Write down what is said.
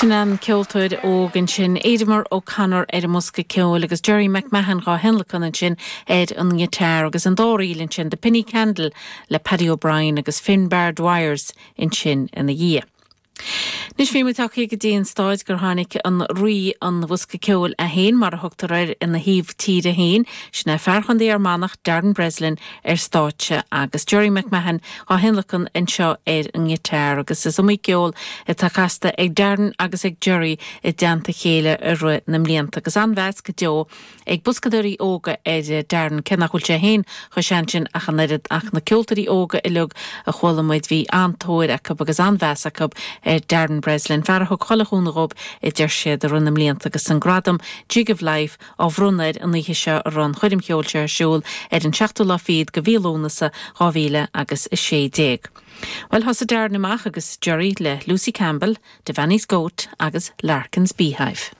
Sin an ceoltóir óg ansin, Aedhmar O'Connor ar an mbosca ceoil agus Gerry McMahon dhá thionlacan ansin ar an ngiotár agus an dá ríl ansin, The Penny Candle le Paddy O'Brien agus Finbar Dwyers ansin ina dhiaidh. Anois bhí muid tagtha go dtí an stáid gur tháinig an Rí an Bhosca Ceoil é féin, mar a thugtar air ina thaobh tíre féin, sin é fear Chontae Fhear Manach, Darren Breslin, ar stáitse agus Gerry McMahon dhá thionlacan anseo ar an ngiotár agus is iomaí ceol atá casta ag Darren agus ag Gerry i dteannta a chéile i rith na mblianta agus an-mheas go deo ag boscadóirí óga ar Darren, cé nach bhfuil sé féin chomh sean sin ach an oiread, ach na ceoltóirí óga uilig a chuala muid, bhí an-tóir acu agus an-mheas acu ar Darren Breslin, fear a thug chuile chúnamh dhób, a deir siad, i rith na mblianta agus an gradam Jig of Life á bhronnadh air an oíche seo a raibh an choirm cheoil seo ar siúl ar an seachtú lá fichead de mhí Lúnasa 2000 agus 16. Bhuel, thosaigh Darren amach agus Gerry le Lucy Campbell, Devaney's Goat agus Larkin's Beehive.